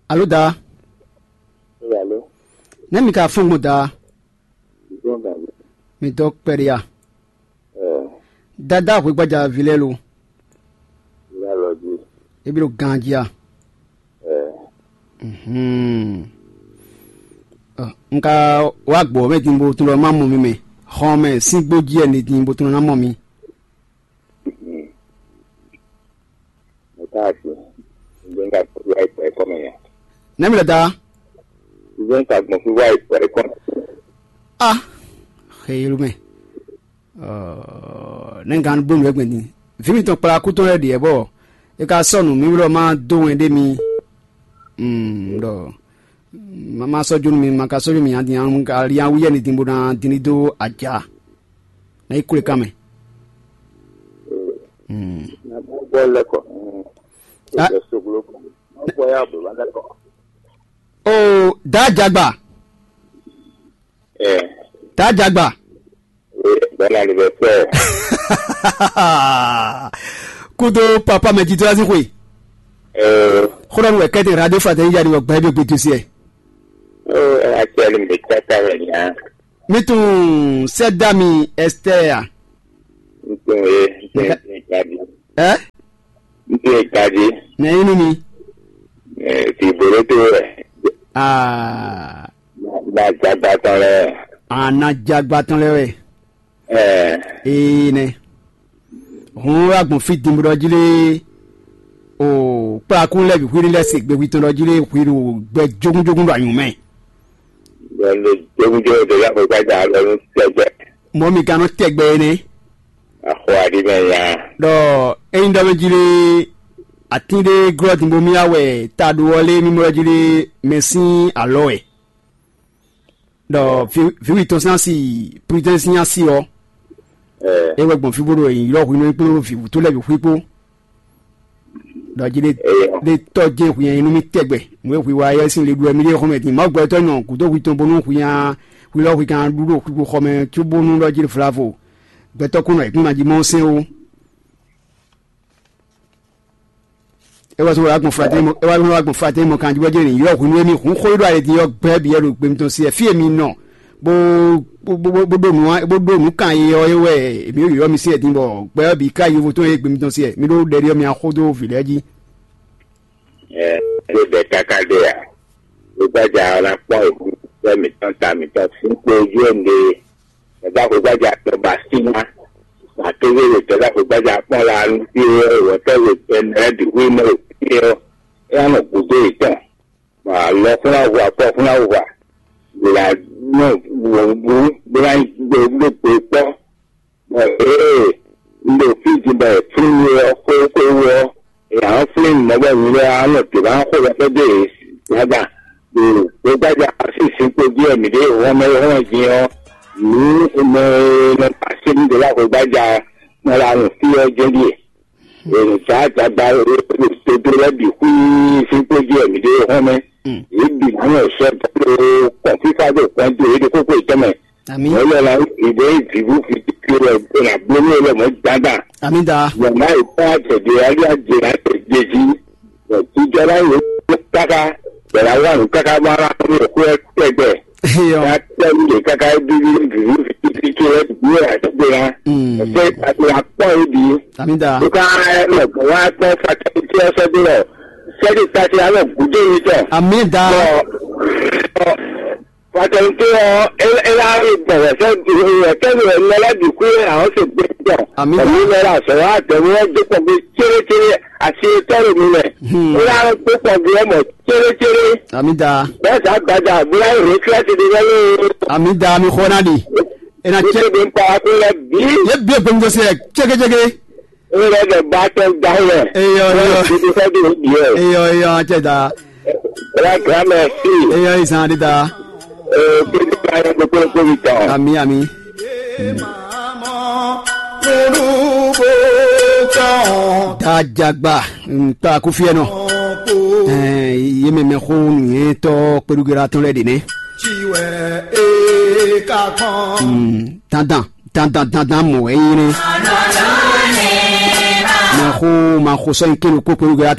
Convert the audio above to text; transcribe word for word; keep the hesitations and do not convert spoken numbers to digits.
Alo da. Nɛ́ mi ka fɔ́n gbɔn da? Mi dɔ kpɛɖe a? Dada hwegbaja ví lɛ́ɛ lo. E bí ɖo ganjí a? Mhm. Ɔ, un ka wá gbɔ mɛ din bo tunɔ ma mɔ mi mɛ. Xɔn mɛ sín gbó jí wɛ din bo tunɔ ná mɔ mi. Mo tá a sin. Ǹjẹ́ ń ka gbɔn fí wá ìpọ̀ ẹ̀kọ́ mɛ yẹn? Nɛ́ mi lɛ da? Ǹjẹ́ ń ka gbɔn fí wá ìpọ̀ ẹ̀kọ́ mɛ? Ah, xeyelu mɛ. Ɔ, nɛ́ ń gán bló nǔ wɛ gbɛn din. Vǐ mitɔn kplá kú tɔn lɛ́ ɖiɛ bɔ é ka sɔ́ nǔ mì wlɔ́ má dó wɛn ɖé mi. Mm, ɖɔ ma ma sɔ́ jó nú mi, ma ka sɔ́ jó mi nya din, ǎ, un ka lí awú yɛ ni din bó ná din ní dó aja. Ná yi kúlekan mɛ. Mm. Na bɔ lɛ kɔ. Ah. Soglo kɔ. Bɔ ya bɔ ba lɛ kɔ. Oh, da jagba. Eh. Da jagba. Oui, bon anniversaire. Kudo papa mɛ jitɔ asi xwe. Eh. Xɔlɔ nu wɛ kɛtɛ radio fraternité ya ni wɔ gbɛ bi gbe dosie. Oh, actuellement, mi tata wɛ nya. Mi tun sɛ da mi Esther ya. N tun ye, n tun ye, n tun ye, n tun ye. Ɛ? N tun ye. Nɛ yi nu mi. Eh, ti bolo to wɛ. Ah. Na jagba tɔn lɛ. Ana jagba tɔn lɛ wɛ. Ɛɛ. Ee nɛ. Hun wa gbɔn fi dimbu dɔ jí lé. O kplakún lɛ bi hwiri lɛ se gbegbi tɔn dɔ jí lé hwiri o gbɛ jogun jogun dɔ anyun mɛ. Gbɛ jogun jogun dɔ ya ko gbɛ da lɔ nu tɛgbɛ. Mɔ mi ka nɔ tɛgbɛ nɛ. Axɔ aɖi mɛ ya. Dɔ eyin dɔ mɛ jí lé. Atin ɖé glɔ́ din bo mì ya wɛ ta ɖó ɔ́ lé mì mɔ jí lé mɛ sín alɔ wɛ. Ɖɔ vǐ vǐ tɔn sín asi, prudence sín asi ɔ́, é wɛ gbɔn fí bó ɖo ylɔ́ hwenu é kpló vǐ wútu lɛ́ɛ bǐ xwí kpó. Ɖɔ jí ɖé ɖé tɔ́ jɛ́n hwi nyi nú mì tɛgbɛ, nǔ e hwi wa yɛ sín le ɖu wɛ mì ɖe xɔmɛ din. Mawu gbɛtɔ́ nɔ gǔdo hwi tɔn bónú hwi nya hwi lɔ hwi kan ɖu ɖo xwixwixɔ mɛ cóbónú ɖɔ jí ɖe vlavo. Gbɛtɔ́ kún nɔ yě kún ná jí mɔ sɛn ó. É wá sɔ́ wá gbɔn flatɛ́n mɔ é wá sɔ́ wá gbɔn flatɛ́n mɔ kanjí bɔ jɛ́n ylɔ́ hwenu e mì hun xó e ɖo ayɛ din ɔ́ gbɛ́ bǐ wɛ ɖo gbe mitɔn sí wɛ fí e mi nɔ bó bó bó bó ɖó nǔ bó ɖó nǔ kan e ɔ́ é wɛ mǐ ɖo ylɔ́ mi sí wɛ din bɔ gbɛ́ ɔ́ bǐ ká yovo tɔn e gbe mitɔn sí wɛ mi ɖó ɖɛɖe ɔ́ mi wá xó dó vǐ lɛ́ɛ jí. Ɛ ɛ bɛ káká ɖe ǎ. Gbɛgbɛja ɔ́ ná kpɔ́n èkú sɛ́ mǐtɔn ta mǐtɔn sín kpo jú ɛ ɖe. Ẹ̀dá xwégbájá tɔn ba sí ná. Màkézé ɖo tɛ̌dá xwégbájá kpɔ́n la nú fí é wɛ̌tɛ́ we tɛnɛ lɛ́ɛ bǐ xwé mɛ ɖo fí é ɔ́, é ná nɔ gǔdo yětɔn. Bɔ alɔ fún ná hu akɔ fún ná hu a. Gbělá nɔ wǔ bó ná gbé gbé kpɔ́. Bɔ ée un ɖo fí din bɔ è flín we ɔ́ xwé xwé wú ɔ́, è nǎ nɔ flín mɔ̌ bɔ nyuɖé ɔ́ á nɔ dě ná xo ɖɔ xwé dó yě gbadza ɖo gbégbájá así zinkpo jí wɛ mǐ ɖe hɔnmɛ hɔnmɛ din ɔ́, nǔ mɛ e nɔ así nú ɖě wá xwégbájá nɔ ɖo anɔ fí ɔ́ jɛ́n ɖíe. È nɔ zǎ dagba e ɖo dodo lɛ́ɛ bǐ xwíí zinkpo jí wɛ mǐ ɖe hɔnmɛ. Yě bǐ nǎ nɔ sɔ́ dó kɔn fífá ɖo kɔn dó yě ɖo kókó yětɔn mɛ. Ami. Wọ́n lọ la ìdè ìdìbò fi ti fi rẹ̀ gbé na blómi lọ mọ́ jáda. Ami da. Yàrá ìfọ́ àtẹ̀dé ayé àjèrè àtẹ̀dé jí. Ìjọba yìí ó káká bẹ̀rẹ̀ àwọn àrùn káká máa rà fún ìkú ẹ tẹ́gbẹ̀. Eyọ. Ká tẹ́ ní lè káká bí bí bí bí bí kí ẹ bí ẹ tó gbé na. Mm. Ẹsẹ̀ àti àpọ̀ yìí bí. Ami da. Ó ká ẹ lọ gbọ́n wá pẹ́ fàtẹ́ tí ẹ sọ bí lọ. Sẹ́ni tàti alọ́ gùdé yìí tọ̀. Ami da. Bọ̀ bọ̀ Fatɛnte ɔ, ela ri gbɔn wɛsɛ wɛsɛ mi wɛ mɛ lɛ bi kú yɛ awɔ se gbé tɔ. Ami da. Ɛmi mɛ la sɔ wa tɛ wɔ dé kpɔ gbé tséré tséré asi tɔ le mi mɛ. Hmm. Ela gbé kpɔ gbé mɔ tséré tséré. Ami da. Bɛ sa gbada bla yi retraite de bɛ le. Ami da mi xɔ na di. Ena tsɛ. Ete de nkpa ko lɛ bi. Ye bi egbemi dɔ se tsɛkɛtsɛkɛ. Ewúrẹ́ bẹ̀ bá tẹ́ gbá yẹ. Eyɔ, eyɔ. Ibi fẹ́ bí òbí yẹ. Eyɔ, eyɔ, atsɛ da. Grand grand merci. Eyɔ, izan de da. Ee, kí ni ká yẹ kókó kó mi tán. Ami, ami. Dajagba, ntɔ akufiɛ nɔ. Ɛɛ, ye mɛmɛ xo nìyɛn tɔ kpeɖugera tɔn lɛ de nɛ. Dandan. Dandan dandan mɔ̌ wɛ é nyí nɛ́. Maxo maxo sɔ́ nyi kéɖo kpókpé wú gbé